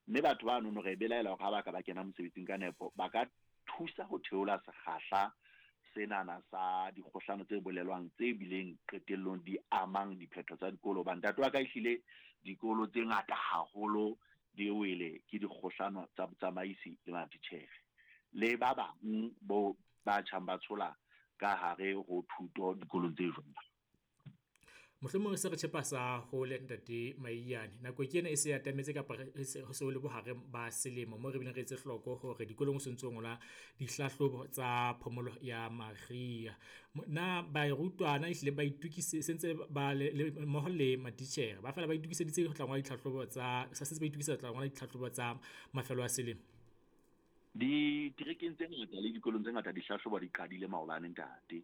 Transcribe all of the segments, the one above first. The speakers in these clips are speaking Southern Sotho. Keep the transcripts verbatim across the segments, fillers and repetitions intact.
Mme batho ba nono re belaela hore ha ba ka ba kena mosebetsing ka nepo, ba ka thusa ho theola sekgahla senana sa dikgohlano tse bolelwang tse bileng qetellong di amang diphetho tsa dikolo. Hobane ntate wa ka ehlile dikolo tse ngata haholo di wele ke dikgohlano tsa botsamaisi le matitjhere le ba bang bo ba tjhang ba tshola ka hare ho thuto dikolong tse jwalo. Mohlomong re se re tjhepa sa hole ntate Maiyane. Nako ke ena e se atametse kapa re se ho se ho le bohareng ba selemo moo re bileng re etse hloko hore dikolong ho so ntso ngolwa dihlahlobo tsa phomolo ya mariha. Na barutwana ehlile ba itukise sentse ba le mmoho le matitjhere ba fela ba itokiseditse ho tla ngola ditlhahlobo tsa sa sentse ba itokisetsa ho tla ngola ditlhahlobo tsa mafelo a selemo? Diterekeng tse ngata le dikolong tse ngata dihlahlobo di qadile maobane ntate.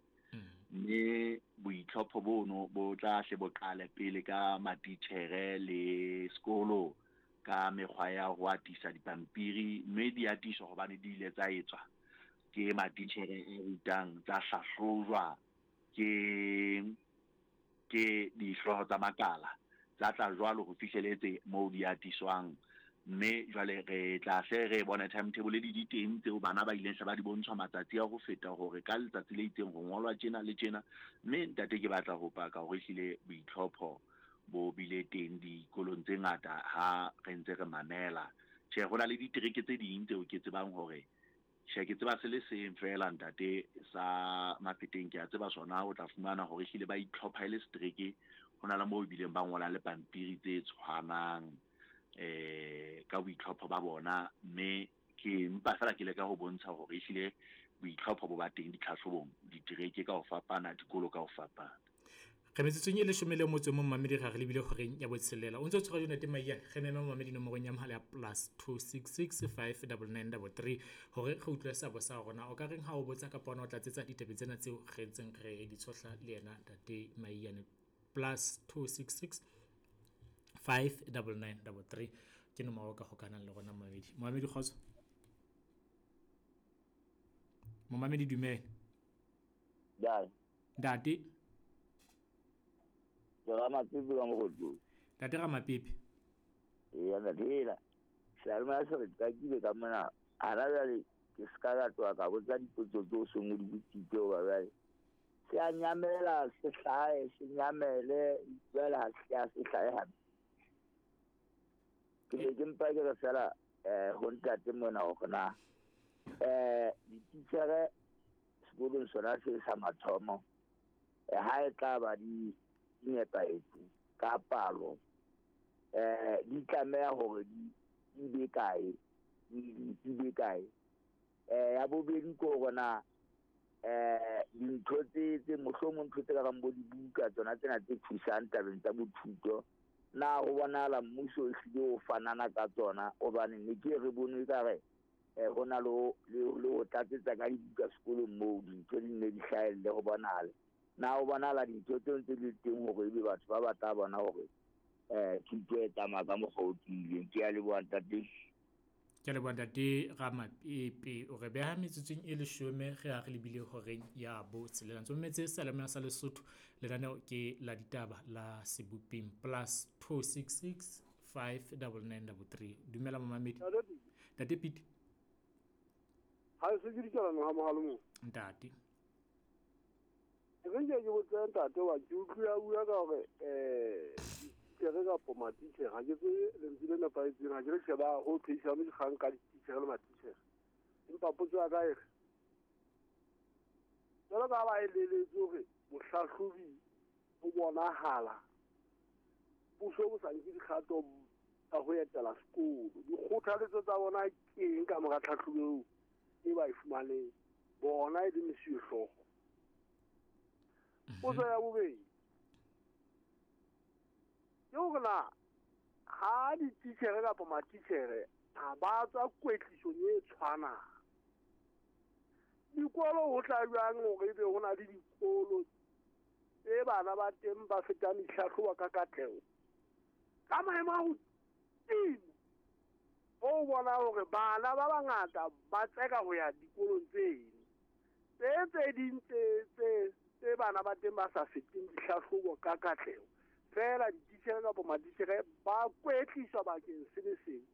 Mme boitlhopho bono bo tla hle bo qale pele ka matitjhere le sekolo ka mekgwa ya ho atisa dipampiri, mme di atiswa hobane di ile tsa etswa ke matitjhere a rutang, tsa hlahlojwa ke ke dihlooho tsa makala, tsa tla jwalo ho fihleletse moo di atiswang. Mme jwale re tla hle re bone timetable di di teng tseo bana ba ileng hle ba di bontshwa matsatsi a ho feta hore ka letsatsi le itseng ho ngolwa tjena le tjena. Mme ntate ke batla ho paka hore ehlile boitlhopho bo bile teng dikolong tse ngata ha re ntse re mamela. Tjhe, ho na le ditereke tse ding tseo ke tsebang hore tjhe, ke tseba se le seng feela ntate sa Mafeteng, ke a tseba sona, o tla fumana hore ehlile ba itlhopha e le setereke. Ho na le moo ebileng ba ngolang le pampiri tse tshwanang eh ka boitlhopho ba bona. Mme ke mpa fela ke leka ho bontsha hore ehlile boitlhopho bo ba teng ditlhahlobong ditereke ka ho fapana, dikolo ka ho fapana. Re metsotsong e leshome le motso o mong mamedi re lebile horeng ya botshelela. O ntse o tshwara Ntate Maiyane, re mema mamedi nomorong ya mohala ya plus two six six five double nine double three hore re utlwe seabo sa rona. O ka reng ha o botsa kapa ona o tlatsetsa ditabeng tsena tseo re ntseng re di tshohla le yena Ntate Maiyane? Plus two six six five double nine double three ke nomoro ka hokanang le rona mamedi. Mamedi kgotso. Momamedi dumela. Jai. Ntate. Ke Ramapepe ka Mokgotong. Ntate Ramapepe. Eya ntate ela. Seyalemoya se re qakile ka mona. Hana jwale ke ska ka tloha ka botsa dipotso tseo seng o di botsitse hoba jwale se a nyamela, se hlahe, se nyamele, jwale ha se a se hlahe hape. Ke ne ke mpa ke re fela eh ho ntate mona hore na eh dititjhere sekolong sona se sa mathomo eh ha e tla ba di nepahetse ka palo eh di tlameha hore di di be kae, di di be kae. Eh ya bobedi ke hore na eh dintho tse tse mohlomong ntho tse ka bang bo dibuka tsona tsena tse thusang tabeng tsa bothuto, na ho bonahala mmuso ehlile o fanana ka tsona? Hobane ne ke re bone ekare eh ho na le le ho tlatsetsa ka dibuka sekolong moo dintho di ne di hlahelle ho bonahala. Na ho bonahala dintho tseo ntse di le teng hore ebe batho ba batla bona hore eh thuto e tsamaya ka mokgwa o tiileng. Ke a leboha ntate. Ke a leboha ntate Ramapepe. O re beha metsotsong e leshome re ha re lebile horeng ya botshelela. Ntse o mametse Seyalemoya sa Lesotho, lenaneo ke la ditaba la Sebopeng. Plus two six six five double nine double three. Dumela momamedi. Ntate Pete. Ha se ke dikalana ha mohalo mo. Ntate. Ke re ke botsa ntate wa ke utlwa bua ka hore eh dititjhere kapa matitjhere, ha ke tsebe lentswe le nepahetseng, ha ke re sheba ho phehisano dikgang ka dititjhere le matitjhere. Empa potso ya ka e re, jwalo ka ha ba eleletswe hore mohlahlobi o bonahala puso bo sa nke dikgato tsa ho etela sekolo, dikgothaletso tsa bona ke eng ka mora tlhahlobo eo e ba e fumaneng bona e le mesuwehlooho? Potso ya bobedi ke hore na ha dititjhere kapa matitjhere ha ba tswa kwetlisong e tshwanang, dikolo ho tla jwang hore ebe ho na le dikolo tse bana ba teng ba fetang dihlahlobo ka katleho ka maemo a hodimo, o bona hore bana ba bangata ba tseka ho ya dikolong tseno tse tse ding tse tse tse bana ba teng ba sa feteng dihlahlobo ka katleho, fela dititjhere kapa matitjhere ba kwetliswa bakeng se le seng.